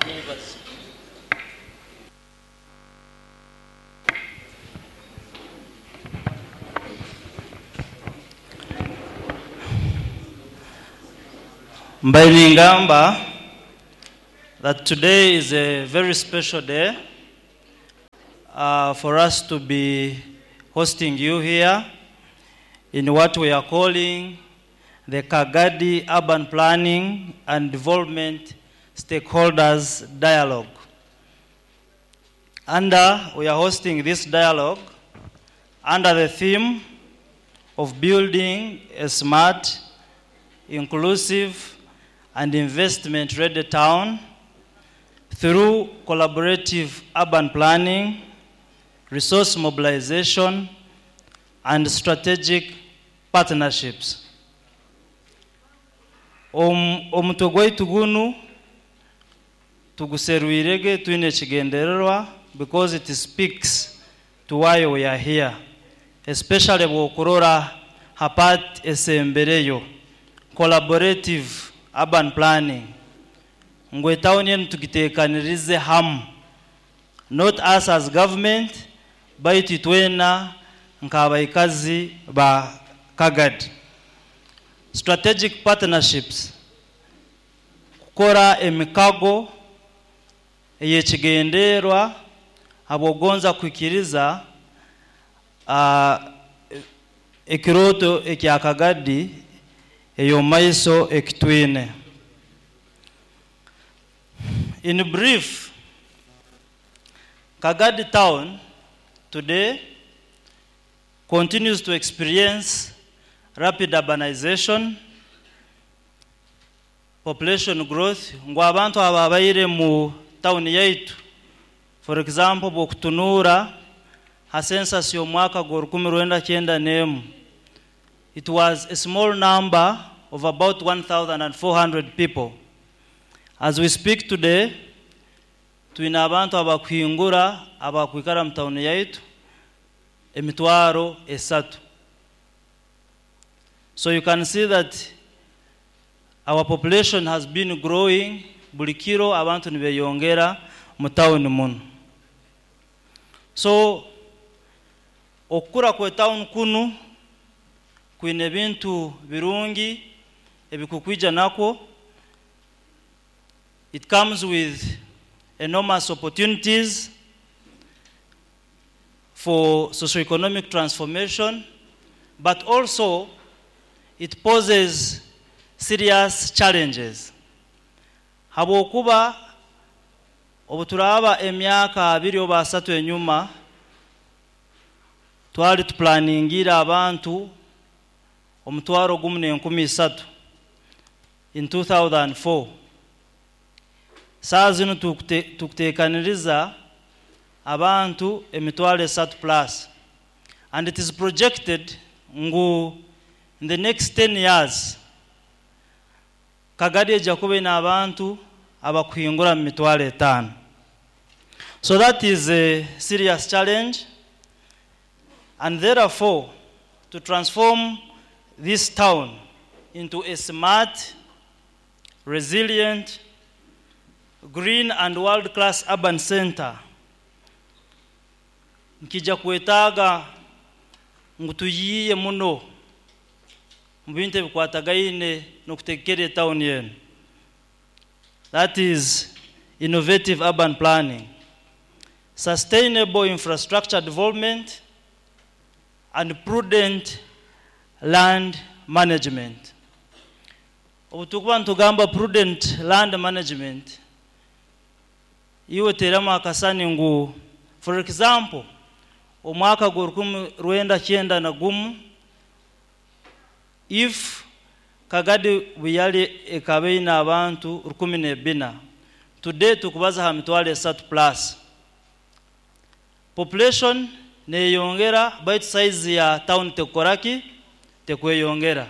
Mwebaze. Mbaire ningamba that today is a very special day for us to be hosting you here in what we are calling the Kagadi Urban Planning and Development Stakeholders Dialogue. We are hosting this dialogue under the theme of building a smart, inclusive, and investment-ready town through collaborative urban planning, resource mobilization, and strategic partnerships. Omutwe gwaitu gunu tuguserwirege twine ekigendererwa because it speaks to why we are here, especially bw'okurora hapat esembereyo collaborative urban planning ngu etawuni enu tugiteekanirize hamu, not us as government baitu itwena nk'abaikazi ba Kagadi. Strategic partnerships, kukora emikago ey'ekigenderwa habw'okugonza kuhikiriza ekirooto ekya Kagadi ey'omumaiso ekitwine. In brief, Kagadi town today continues to experience rapid urbanization, population growth. Ngu abantu ababaire mu town yaitu, for example, bw'okutunuura ha census y'omwaka gwa rukumi rwenda kyenda n'emu, it was a small number of about 1,400 people. As we speak today, twine abantu abakuhingura abakwikara mu town yaitu emitwaro esatu. So you can see that our population has been growing. Buli kiro abantu nibeyongera mu town muno. So okukura kwe town kunu kwine ebintu birungi ebikukwija nakwo. It comes with enormous opportunities for socioeconomic transformation, but also it poses serious challenges. Habwokuba obuturaba emyaka abiri oba asatu enyuma twali tuplaningira abantu omutwaro gumu n'enkumi isatu in 2004. Saa zinu tukuteekaniriza abantu emitwaro esatu plus, and it is projected ngu in the next 10 years Kagadi ejja kuba ine abantu abakuhingura mu mitwaro etaano. So that is a serious challenge, and therefore to transform this town into a smart, resilient, green and world-class urban center, nkija kwetaaga ngu tuyiiye muno mu bintu ebikwatagaine n'okutegekera etawuni enu. That is innovative urban planning, sustainable infrastructure development, and prudent land management. Obu tukuba nitugamba prudent land management, iwe teramu akasani ngu, for example, omwaka gwa rukumi rwenda kyenda na gumu, if Kagadi buyali ekaba eine abantu rukumi n'ebina, today tukubaza ha mitwaro esatu plus. Population neyongera, baitu size ya town tekukoraki tekweyongera.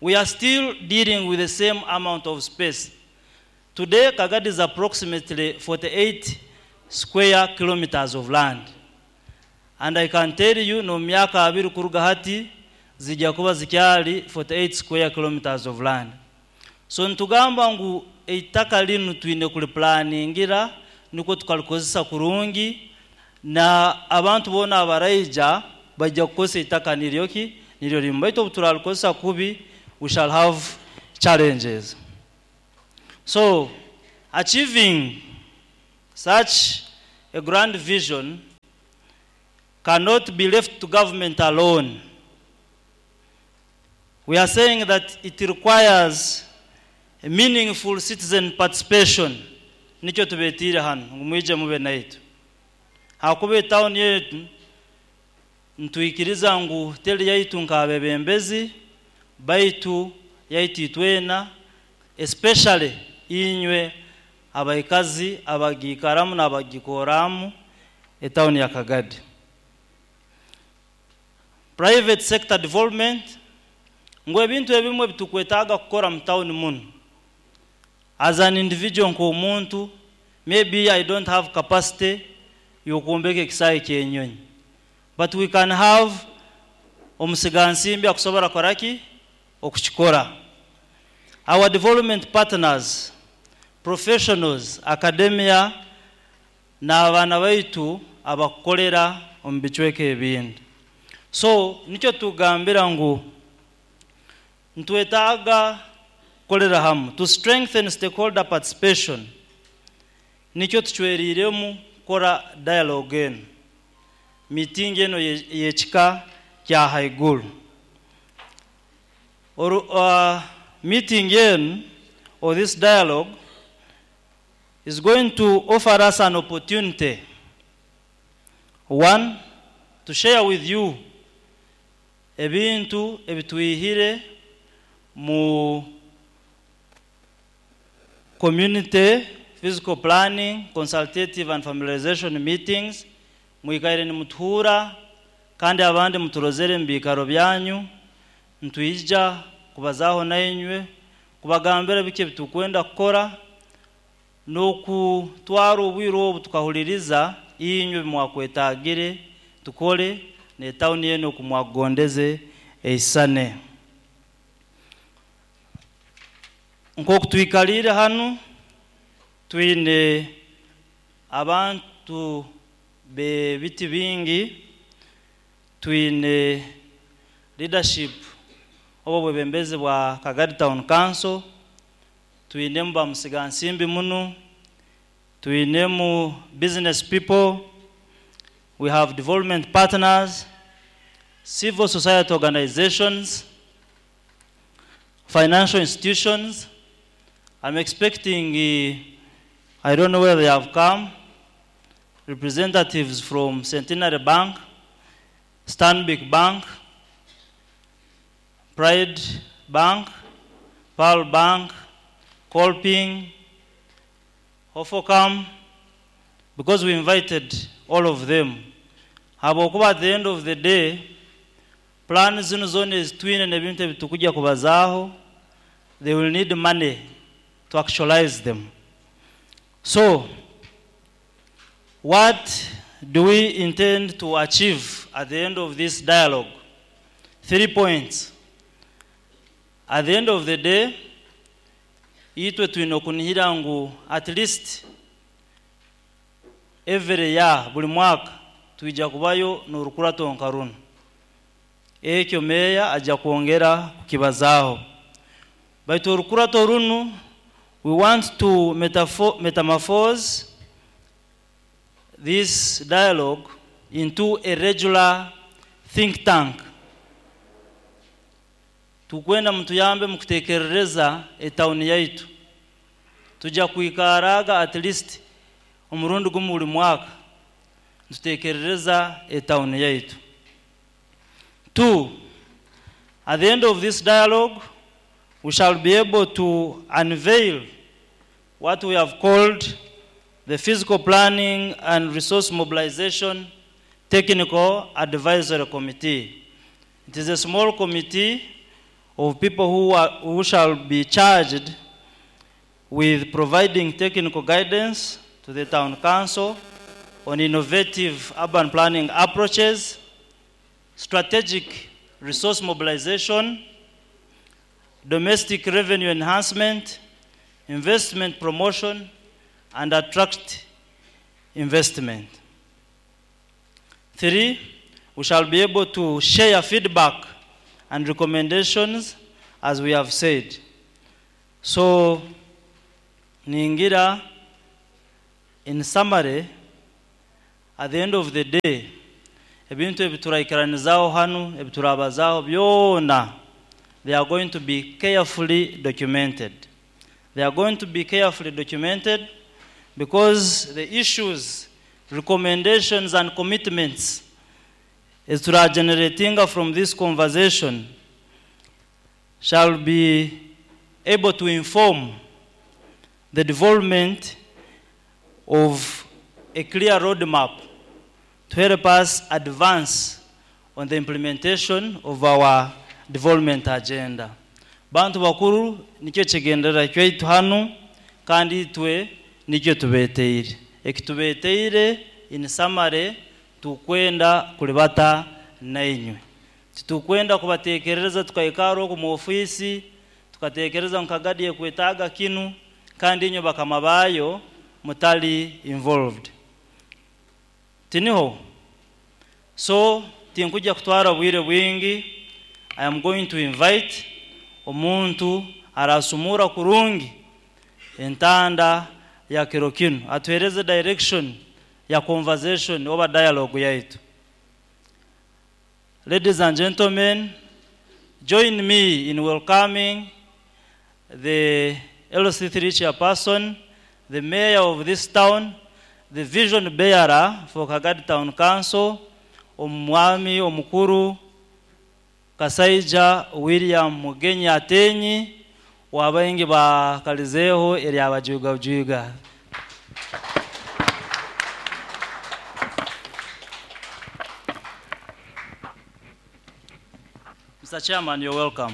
We are still dealing with the same amount of space. Today Kagadi is approximately 48 square kilometers of land, and I can tell you no myaka abiri kuruga hati zijja kuba zikyali 48 square kilometers of land. So nitugamba ngu eitaka linu twine kuliplaningira nukwo tukalikozesa kurungi, na abantu boona abaraija bajja kukozesa eitaka niryo ki niryo limu. Baitu obu turalikozesa kubi, we shall have challenges. So achieving such a grand vision cannot be left to government alone. We are saying that it requires a meaningful citizen participation. Nikyo tubetiire hanu ngu mwije mube naitu, hakuba etawuni yetu nitwikiriza ngu teri yaitu nk'abebembezi, baitu yaitu itwena, especially inywe abaikazi abagiikaramu n'abagikoramu etawuni ya Kagadi. Private sector development, ngu ebintu ebimwe bitukwetaaga kukora mu tawuni muno, as an individual, nk'omuntu, maybe I don't have capacity y'okwombeka ekisaayi ky'enyonyi, but we can have omusigansimbi akusobora koraki okukikora. Our development partners, professionals, academia n'abaana baitu abakukolera omu bicweka ebindi. So nikyo tugambira ngu nitwetaaga kukolera hamu to strengthen stakeholder participation. Nikyo tucweriremu kukora dialogue eno, meeting eno y'ekika kya haiguru. Meeting eno or this dialogue is going to offer us an opportunity, one, to share with you ebintu ebitwihire mu community physical planning consultative and familiarization meetings. Mwikaire nimutuhura kandi abandi muturozere mu biikaro byanyu. Ntwija kubazaho nainywe, kubagambira biki ebitukwenda kukora, n'okutwara obwire obu tukahuliriza inywe bimwakwetagire tukole n'etawuni eno okumwakugondeze eisane. Nk'oku twikaliire hanu, twine abantu b'ebiti bingi, twine leadership oba obwebembezi bwa Kagadi Town Council, twinemu bamusigansimbi muno, twinemu business people, we have development partners, civil society organizations, financial institutions. I'm expecting, I don't know where they have come, representatives from Centenary Bank, Stanbic Bank, Pride Bank, Pearl Bank, Kolping, Hofocam, because we invited all of them. Habwokuba at the end of the day, plan zino zona ezitwine n'ebintu ebitukujja kubazaaho, they will need money to actualize them. So, what do we intend to achieve at the end of this dialogue? 3 points. At the end of the day, itwe twine okunihira ngu at least every year, buli mwaka, twija kubayo n'orukurato nka runo. Ekyo meya ajja kwongera kukibazaaho. Baitu orukurato runu, we want to metamorphose this dialogue into a regular think tank. Tukwenda mutuyambe mukutekerereza etawuni yaitu. Tujja kwikaraga at least omurundi gumu buli mwaka tutekerereza etawuni yaitu. 2, at the end of this dialogue, we shall be able to unveil what we have called the Physical Planning and Resource Mobilization Technical Advisory Committee. It is a small committee of people who shall be charged with providing technical guidance to the town council on innovative urban planning approaches, strategic resource mobilization, domestic revenue enhancement, investment promotion, and attract investment. Three, we shall be able to share feedback and recommendations, as we have said. So, ningira, in summary, at the end of the day, ebintu ebituraikiranizaho hanu, ebiturabazaho byona, they are going to be carefully documented. They are going to be carefully documented because the issues, recommendations, and commitments eziturageneratinga from this conversation shall be able to inform the development of a clear roadmap to help us advance on the implementation of our development agenda. Bantu bakuru, nikyo kigenderera kyaitu hanu, kandi itwe nikyo tubeteire. Ekitubeteire, in summary, tukwenda kulibata nainywe. Titukwenda kubatekereza tukaikara oku mu ofisi tukatekereza nka Kagadi ekwetaaga kinu, kandi inywe bakama bayo mutali involved. Tiniho. So tinkujja kutwara bwire bwingi. I am going to invite omuntu arasumura kurungi entanda ya kiro kinu, atuhereze direction ya conversation oba dialogue yaitu. Ladies and gentlemen, join me in welcoming the LC3 chairperson, the mayor of this town, the vision bearer for Kagadi Town Council, omwami omukuru Kasaija William Mugenyi Atenyi, wabaingi bakalizeho eryabajugajuga. Mr. Chairman, you're welcome.